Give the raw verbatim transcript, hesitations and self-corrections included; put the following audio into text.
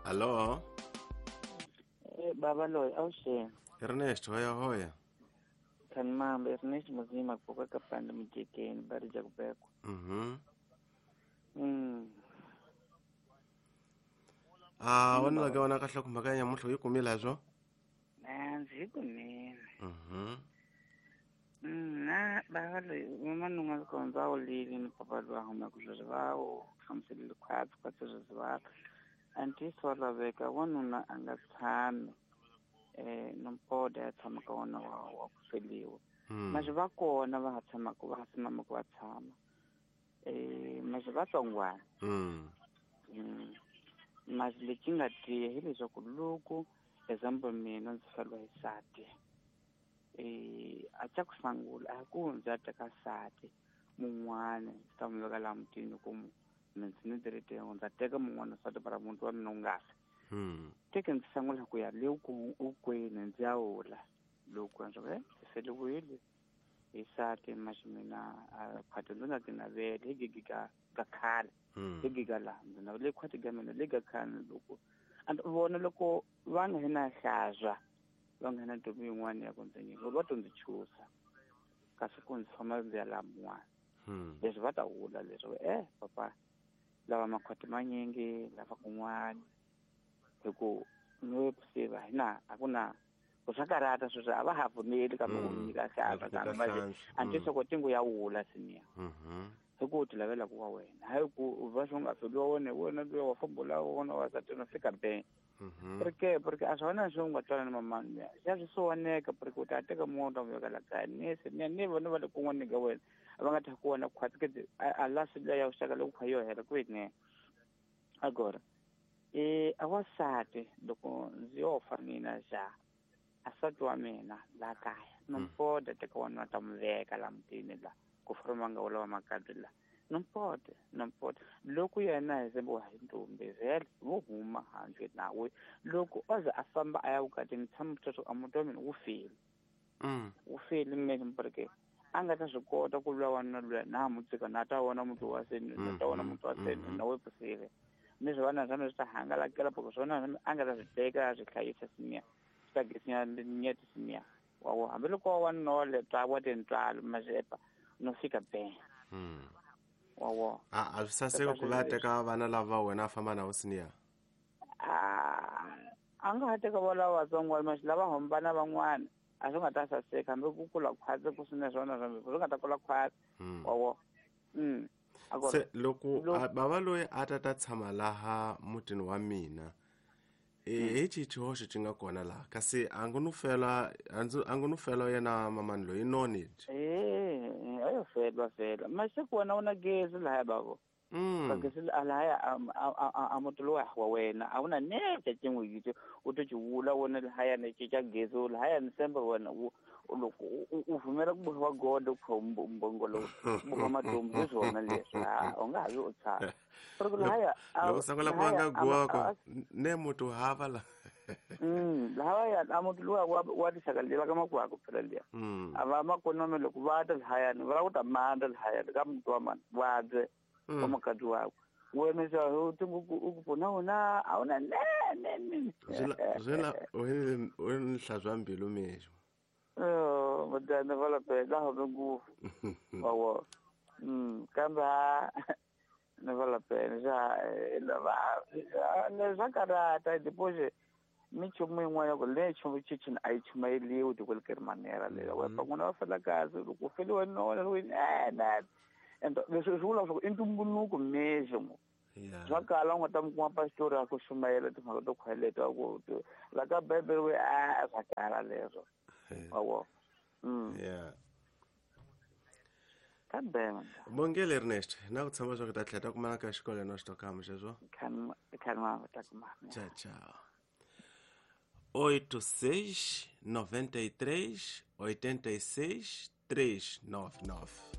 Alô? Eh, baba loyi awuxeni. Ernest hoya hoya. Kani mamba Ernest muzima kuka kapanda mujekeni bari jakubekwa. Mhm. Mm. Ah, wena la ka wona kahle ku mhaka ya nyamuhla yi kumile zwo? Ndzi kumile. Mhm. Mm, na baba loyi vamanunga loko ndza wu lili ni papa loyi a humaka sweswi va wu hlamuselile khwatsi khwatsi sweswi va a ntiyiso wa laveka wanuna a nga tshami eh nompoda ya tshama ka wona wa wa ku feliwa. Mas va kona va ha tshamaka va ha simamaka va tshama eh mas va tsongwana. Mm. Mm. Mas lexi nga tiya hileswaku loko example mina ndzi feriwa hi nsati eh a xa ku sungula a ku ndzi ya teka nsati mun'wana ndzi ta n'wi veka laha mutini ku ndzi ni tirhiteni ndza teka mun'wana nsati para muti wa mina wu nga fi. Mm. Teke ndzi sungula ku ya le ku ukwini ndzi ya wula loko ndzi eh feliwile hi nsati mas mina a khwati ndzi nga ti naveli hi gigi ka ka khale hi giga laha ndzi navele khwati ka mina le ka khale loko and vona loko va nga hina hlazwa va nga hina ntombi yin'wana ya ku ndzi nyika va to ndzi chusa kasi ku ndzi famba ndzi ya laha mun'wana leswi va ta wula leswi eh papa lava makhwati manyingi lava kun'wana hi ku no siva hina a ku na ku swa karata sweswi a va ha pfumeli kambe ku nyika hlazwa kambe manje a ntiyiso ko tingu ya wula siniya hi ku ti lavela ku wa wena hayi ku va swi nga feliwa wena wena luya wa fambula wona wa sati no fika be porque porque a swona swi nga twana na mamani ya xa swi sowaneka porque u ta teka munhu ta n'wi veka la kaya ni se ni ni vona va le kun'wana ka wena a va nga ta ku wona khwatsi ke a la swi ya vuxaka loko kha yo hela kwini agora eh a wasati loko ndzi yo fa mina xa a sati wa mina la kaya nompoda teka wona ta n'wi veka la mutini la ku forma nga wala wa makadzi la nompoda nompoda loko yena hi zembo hi ntombi vhele vo huma handle nawe loko oze a famba a ya vukatini tshama sweswo a muti wa mina wu file mm wu file mina porque a nga ta swi kota ku lwa wanuna luya na mu tshika na ta vona muti wa seni na ta vona muti wa seni na we pusile ni swi vana swa mina swi ta hangalakela porque swona a nga ta swi teka a swi hlayisa siniya swi ta gisinya nyeti siniya wa wo hambiloko wa wanuna wa le twa wa tintswalo mazepa no fika be mm wa wo a a swi saseka ku va teka vana lava wena a famba na siniya a a nga ha teka vo lava vatsongo mas lava hambana van'wana a swi nga ta saseka hambi ku kula khwatsi ku swina swona swi nga ta kula khwatsi wa wo mm se loko bava loyi a ta ta tshama laha mutini wa mina e hi xihoxo xi nga kona laha kasi a ngo no fela a ngo no fela yena mamani loyi noni eh ayo fela fela mase ku wena u na gezi lahaya bavo mm gezi lahaya a muti lowa wa wena a wu na nete xin'we yitse u to xi wula wena lahaya ni cinca gezi lahaya ni semba wena u loko u pfumela ku bohiwa godo ku mbongolo boha madombu hi swona leswi a u nga ha vi u tshama porque lahaya loko sungula ku nga guwa ne muti u hava la mm lahaya a muti luwa wa wa tixaka liya ka makwako phela liya a va makonome loko va ta lahaya ni va ku ta manda lahaya ka muti wa mani vabye wa makadzi wakwe wena xa u tingu u ku pfuna wona a wu na ne ne ne zwela u ni hlantswa mbilu mexo oh madana va la pela ho ngopfu wa wo mm kambe ne va la pela xa lava ne swa karata depois minchumu yin'wana ku le nchumu chichini a yi chumayeliwi de qualquer manera leyo wa van'wana va fela kahle loko u feliwe nona eh na and leswi swi vula leswaku i ntumbuluko mesmo swa kala u nga ta mi kuma pastori a ku xumayela timhaka to khweleta ku la ka bibele we a swa kala leswo wa wo mm yeah kambe bongele Ernest na ku tshama swa ku ta tlhela ta kumana ka xikolo na xitokama xexo kan kan ma ta kuma tchau tchau oito seis noventa e três oitenta e seis três nove nove.